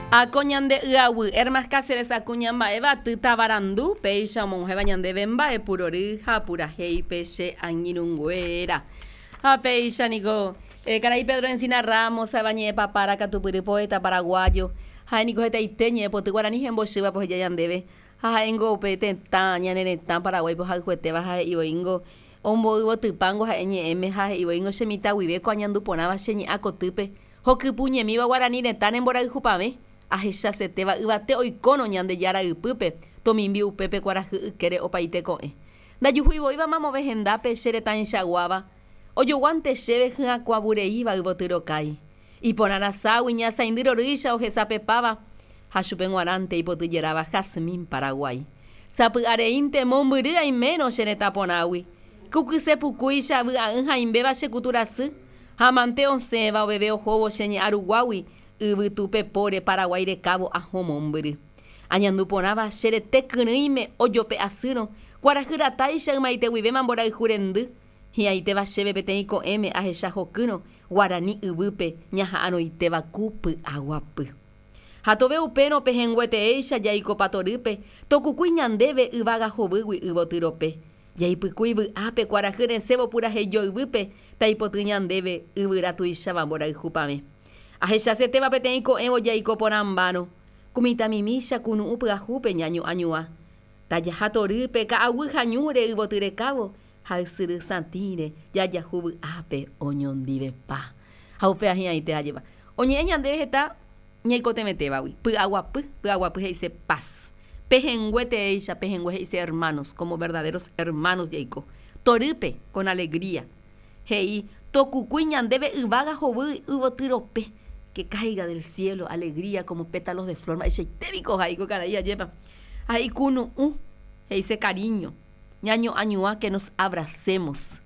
Ako ñande y'aguy, Hermas Cáceres Acuña mba'éva aty tavarandu, péicha omog̃uahẽva ñandéve mba'e purory ha purahéipe che angirũnguéra. Ha péicha niko, karai Pedro Encina Ramos ha'éva ñe'ẽpapára katupyry poeta paraguayo, ha'e niko hetaite ñe'ẽpoty guarani hembochývape oheja ñandéve, ha ha'éngo upe tetã, ñane retã Paraguáipe ohayhuetéva ha he'ivoíngo omboyvotypángo ha'e ñe'ẽme ha he'ivoíngo che mitã guive ko añandu porãva che ñe'ã kotýpe Hokypuñemíva guarani retãre mborayhupavẽ, ahechasetéva yvate oikórõ Ñandejára ypýpe, tomimbi upépe kuarahy ykére opaite ko'ẽ. Ndajuhuivoíva mamove hendápe che retãichaguáva, ojoguánte chéve hyakuãvureíva yvoty rokái. Iporã raságui ñasaindy rorýicha ohesapepáva ha chupe g̃uarãnte ipotyjeráva jazmín Paraguái. Sapy'areínte mombyry aimérõ che retã porãgui, ku kyse pukúicha vy'a'ỹ hãimbéva che kutu rasy, Ha mante osẽva oveve ohóvo che ñe'ã ruguágui yvytu pepóre Paraguái rekávo ahõ mombyry. Añandu porãva che rete kyrỹime ojope asýrõ, kuarahy ratáicha ymaite guivéma mborayhu rendy, hi'ãitéva chéve peteĩ ko'ẽme ahecha hokýrõ guarani yvýpe ñaha'arõitéva ku py'aguapy. Ha tove upérõ pehẽngueteéicha jaikopa torýpe, tokukúi ñandéve yvága hovýgui yvoty rope. Jaipykúi vy'ápe kuarahy resẽvo purahéi joyvýpe taipoty ñandéve yvyra tuicháva mborayhu pavẽ. Ahechasetéva peteĩ ko'ẽvo jaiko porãmbárõ, ku mitãmimícha kunu'ũ pyahúpe ñañoañua. Tajaha torýpe ka'aguy ha ñúre yvoty rekávo ha ysyry satĩre jajahu vy'ápe oñondivepa. Ha upéva hi'ãite ajépa. Oñe'ẽ ñandéve heta ñaikotevẽtévagui. Py'aguapy, py'aguapy he'ise paz. Pehẽngue teéicha, pehẽngue he'ise hermanos, como verdaderos hermanos jaiko. Torýpe, con alegría. He'i, Tokukúi ñandéve yvága hovy yvoty rope, que caiga del cielo alegría como pétalos de flor. Mba'eichaite piko ohai ko karai ajépa. Ha he'i kunu'ũ, he'ise cariño, ñañoañuã que nos abracemos.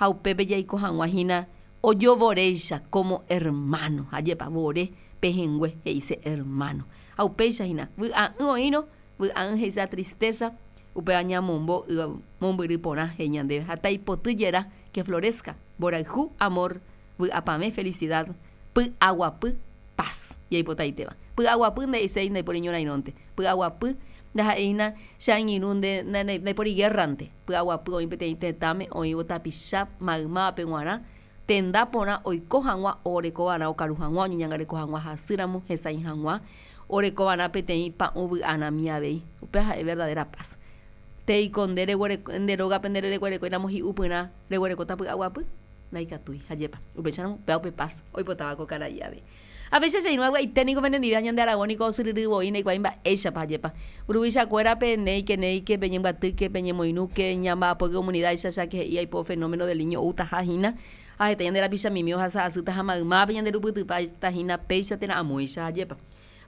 Ha upépe jaiko hag̃ua hína ojovoréicha como hermano. Ajépa, vore, pehẽngue, he'ise hermano. Ha upéicha hína, vy'a'ỹ oĩrõ, vy'a'ỹ he'ise tristeza, upéva ñamombo y mombyry porã he'i ñandéve ha taipoty jera que florezca, mborayhu, amor, vy'apavẽ, felicidad, py'aguapy, paz, jaipotaitéva. Py'aguapy nde'iséi ndaipóri ñorairõnte, py'aguapy ndaha'éi hína che angirũ nde ndaipóri guerra-nte, py'aguapy oĩ peteĩ tetãme oĩvo tapicha maymávape g̃uarã Tenda porã oiko hag̃ua orekova'erã okaru hag̃ua, oñeñangareko hag̃ua hasýramo, hesãi hag̃ua, orekova'erã peteĩ pa'ũ vy'arãmi avei. Upéva ha'e verdadera paz. Teiko nde reguereko, nde rógape nde rereguerekóiramo hi'upyrã reguerekóta py'aguapy? Ndaikatúi. Ajépa. Upéicharamo, upéva upe paz oipotáva ko karai avei. Ha péicha che irũ avy'aite niko penendive ha ñande aravo niko osyryry voi ndaikuaái mba'éichapa ajépa. Mburuvichakuérape néike néike peñembyatýke peñemoirũke ñamba'apóke comunidad-icha cháke he'i aipo fenómeno del niño outaha hína ha heta ñande rapichamimi ohasa asýta ha maymápe ñande rupytypáta hína péicha térã amóicha ajépa.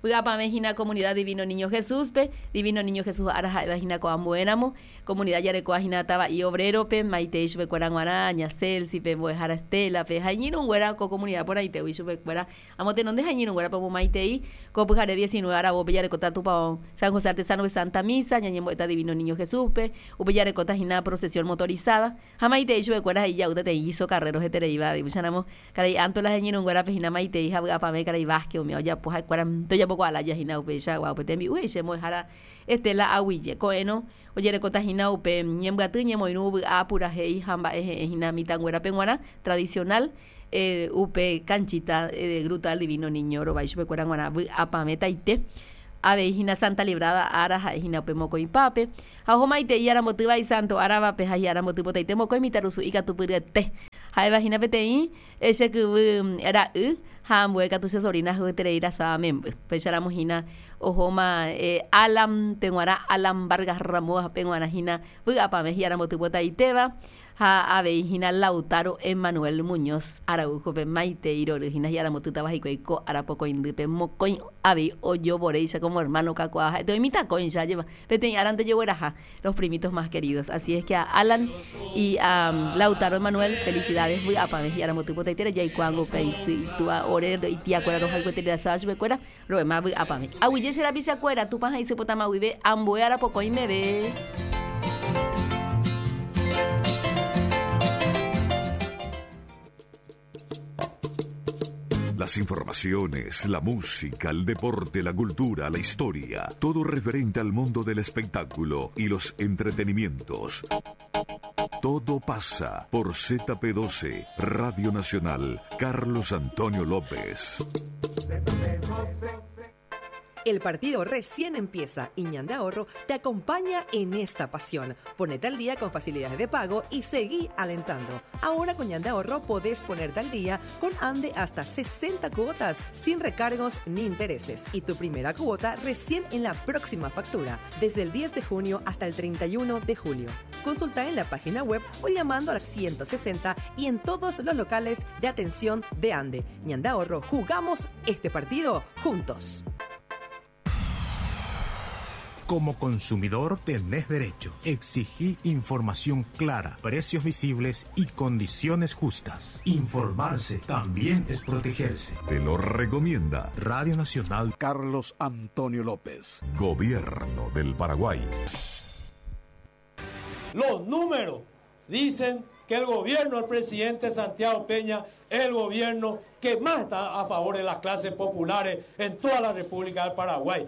Vy'apavẽ hína Comunidad Divino Niño Jesús-pe, Divino Niño Jesús ára ha'éva hína ko ambuéramo, Comunidad jarekóva hína tava'i Obrero-pe, maitei chupekuéra g̃uarã, Ña Celsi-pe, Mbo'ehára Estela-pe, ha iñirũnguéra ko comunidad porãitégui chupekuéra amotenonde ha iñirũnguérape omomaitei, ko pyhare 19 aravópe jarekóta Tupão San José Artesano-pe Santa Misa, ñañembo'éta Divino Niño Jesús-pe, upe jarekóta hína procesión motorizada. Ha maitei chupekuéra he'i ja'úta peteĩ guiso carrero hetereíva avei. Upéicharamo, karai Antola ha iñirũnguérape hína maitei ha vy'apavẽ karai Vázquez umi ojapo ha'ekuéra ndojapokuaa lája hína upeichagua upe tembi'u he'i che mbo'ehára Estela Aguille. Ko'ẽrõ ojerekóta hína upe ñembyaty, ñemoirũ, vy'a, purahéi ha mba'e he'ẽ hína mitãnguérape g̃uarã tradicional upe canchita de Gruta del Divino Niño rovái chupekuéra g̃uarã vy'apavẽtaite. Avei hína Santa Librada ára ha'e hína upe mokõipápe. Ha oho maitei arambotýva isanto áravape ha hi'aramboty potaite mokõi mitãrusu ikatupyryete. Ha'éva hína peteĩ che kyvy ra'y ha ambue katu che sobrina hyeterei rasáva memby. Upéicharamo hína ohóma Alan peguarã, Alan Vargas Ramóva peguarã hína vy'apavẽ hi'aramboty potaitéva. Ha avei hína Lautaro Emanuel Muñoz Araujo-pe maitei rory hína hi'aramotýtava hikuái ko ára pokõindýpe mokõi avei ojovoréicha como hermano kakuaa ha'ete oĩ mitãkõicha ajépa peteĩ árante ojegueraha los primitos más queridos así es que a Alan y a Lautaro Emanuel felicidades vy'apavẽ hi'aramoty potaitére jaikuaángo upe isy itúa ore itiakuéra rohayhueterei chupekuéra Ro'éma vy'apavẽ. Aguyje che rapichakuéra, Tupã ha isy potama guive ambue arapokõi meve. Las informaciones, la música, el deporte, la cultura, la historia, todo referente al mundo del espectáculo y los entretenimientos. Todo pasa por ZP12, Radio Nacional, Carlos Antonio López. El partido recién empieza y Ñande Ahorro te acompaña en esta pasión. Ponete al día con facilidades de pago y seguí alentando. Ahora con Ñande Ahorro podés ponerte al día con Ande hasta 60 cuotas sin recargos ni intereses. Y tu primera cuota recién en la próxima factura, desde el 10 de junio hasta el 31 de julio. Consulta en la página web o llamando al 160 y en todos los locales de atención de Ande. Ñande Ahorro, jugamos este partido juntos. Como consumidor tenés derecho. Exigí información clara, precios visibles y condiciones justas. Informarse también es protegerse. Te lo recomienda Radio Nacional Carlos Antonio López. Gobierno del Paraguay. Los números dicen que el gobierno del presidente Santiago Peña es el gobierno que más está a favor de las clases populares en toda la República del Paraguay.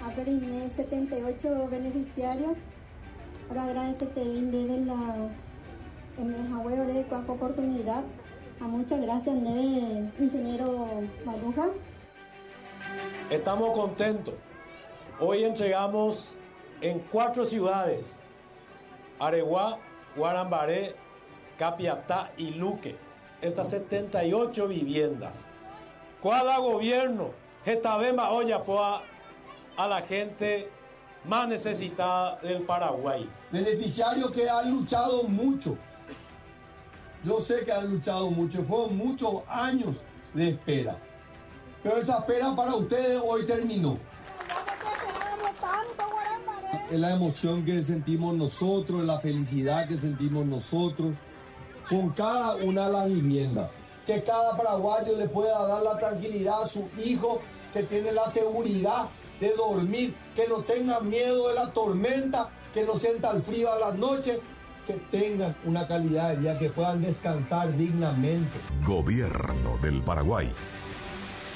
Aperine 78 beneficiarios. Ahora agradecerte Indebe la en el oportunidad. A muchas gracias, Neve, ingeniero Maruja. Estamos contentos. Hoy entregamos en 4 ciudades: Areguá, Guarambaré, Capiatá y Luque, estas 78 viviendas. ¿Cuál a gobierno? Esta vez más olla a la gente más necesitada del Paraguay. Beneficiarios que han luchado mucho. Yo sé que han luchado mucho, fueron muchos años de espera. Pero esa espera para ustedes hoy terminó. Es la emoción que sentimos nosotros, la felicidad que sentimos nosotros con cada una de las viviendas. Que cada paraguayo le pueda dar la tranquilidad a su hijo, que tiene la seguridad de dormir, que no tenga miedo de la tormenta, que no sienta el frío a la noche, que tengan una calidad de vida, que puedan descansar dignamente. Gobierno del Paraguay.